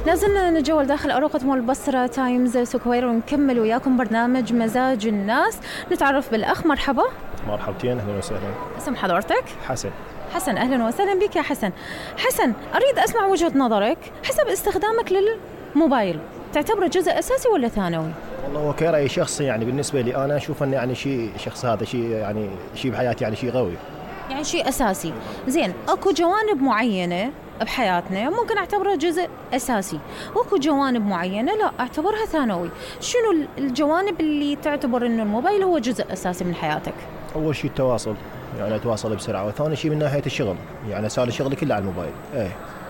لازلنا نتجول داخل أروقة مول بصرة تايمز سكوير ونكمل وياكم برنامج مزاج الناس. نتعرف بالأخ. مرحبا. مرحبتين، أهلا وسهلا. اسم حضرتك؟ حسن. حسن، أهلا وسهلا بك يا حسن. حسن، أريد أسمع وجهة نظرك حسب استخدامك للموبايل، تعتبره جزء أساسي ولا ثانوي؟ والله هو كرأي شخصي، يعني بالنسبة لي أنا أشوف أنه يعني شخص هذا شيء بحياتي، يعني شيء قوي، يعني شيء أساسي. زين، أكو جوانب معينة بحياتنا ممكن أعتبرها جزء أساسي، وأكو جوانب معينة لا أعتبرها ثانوي. شنو الجوانب اللي تعتبر إنه الموبايل هو جزء أساسي من حياتك؟ أول شيء التواصل، يعني أتواصل بسرعة، وثاني شيء من ناحية الشغل، يعني صار شغلي كله على الموبايل،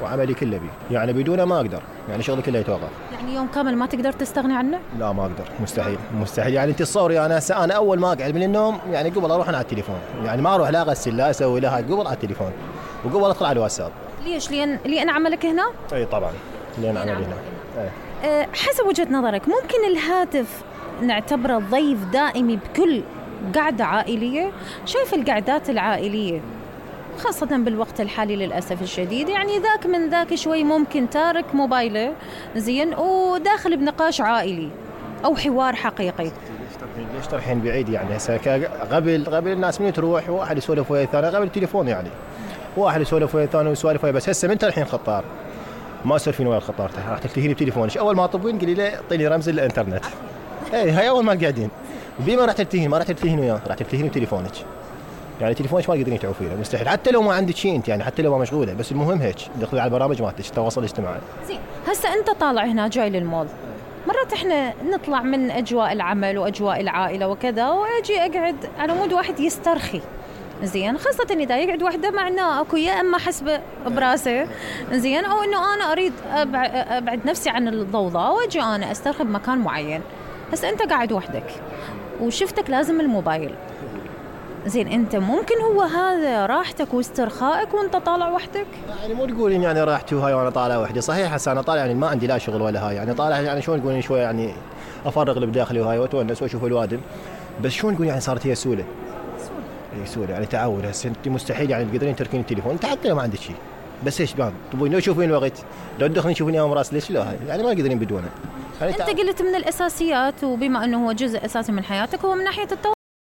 وعملي كله بيه، يعني بدونه ما أقدر، يعني شغلي كله يتوقف. يعني يوم كامل ما تقدر تستغني عنه؟ لا ما أقدر، مستحيل. يعني أنت تصوري أنا أول ما أقعد من النوم يعني قبل أروح أنا على التليفون، يعني ما أروح لا أغسل لا أسوي لا هاي، قبل على التليفون، وقبل أدخل على الواتساب. ليش؟ لأن عملك هنا؟ أي طبعا، لأن عملي هنا. حسب وجهة نظرك ممكن الهاتف نعتبره ضيف دائمي بكل قعدة عائلية؟ شايف القعدات العائلية خاصة بالوقت الحالي للأسف الشديد، يعني ذاك من ذاك شوي ممكن تارك موبايله زين وداخل بنقاش عائلي أو حوار حقيقي. ليش ترحين بعيد؟ يعني هسه قبل الناس من تروح واحد يسولف ويا الثاني، قبل التليفون يعني واحد يسولف ويا الثاني ويسولف ويا، بس هسه من الحين خطار ما تسولفين ويا الخطار، راح تلتهيني بتليفونك، اول ما تطبين قولي لي اعطيني رمز الانترنت. هاي اول ما قاعدين بما راح تلتهين، ما راح تلتهين وياه، راح تلتهيني بتليفونك، يعني تليفونك ما تقدرين تعوفينه مستحيل، حتى لو ما عندك شيء انت، يعني حتى لو ما مشغوله، بس المهم هيك دخلي على البرامج مالتك التواصل الاجتماعي. زين، هسه انت طالع هنا جاي للمول، مرات احنا نطلع من اجواء العمل واجواء العائله وكذا، واجي اقعد على مود واحد يسترخي، زين، خاصة إذا يقعد وحده معناه أكو يا إما حسبة براسه، زين، أو إنه أنا أريد أبعد نفسي عن الضوضاء وأجي أنا أسترخي بمكان معين. بس أنت قاعد وحدك وشفتك لازم الموبايل، زين، أنت ممكن هو هذا راحتك واسترخائك وأنت طالع وحدك؟ يعني مو تقولين يعني راحتي وهاي وأنا طالع وحدي، صحيح هسه أنا طالع يعني ما عندي لا شغل ولا هاي، يعني طالع يعني شلون تقولين شوي يعني أفرغ اللي بداخلي وهاي وأتونس وأشوف الوادم، بس شلون تقول يعني صارت هي سهولة يعني تعود. هسه انت مستحيل يعني تقدرين تركين التليفون انت حتى لو ما عندك شيء، بس ايش بان تبغين لو تشوفين الوقت، لو تدخلين تشوفين يوم راس ليش لا هاي، يعني ما تقدرين بدونه. انت قلت من الاساسيات، وبما انه هو جزء اساسي من حياتك هو من ناحيه التواصل.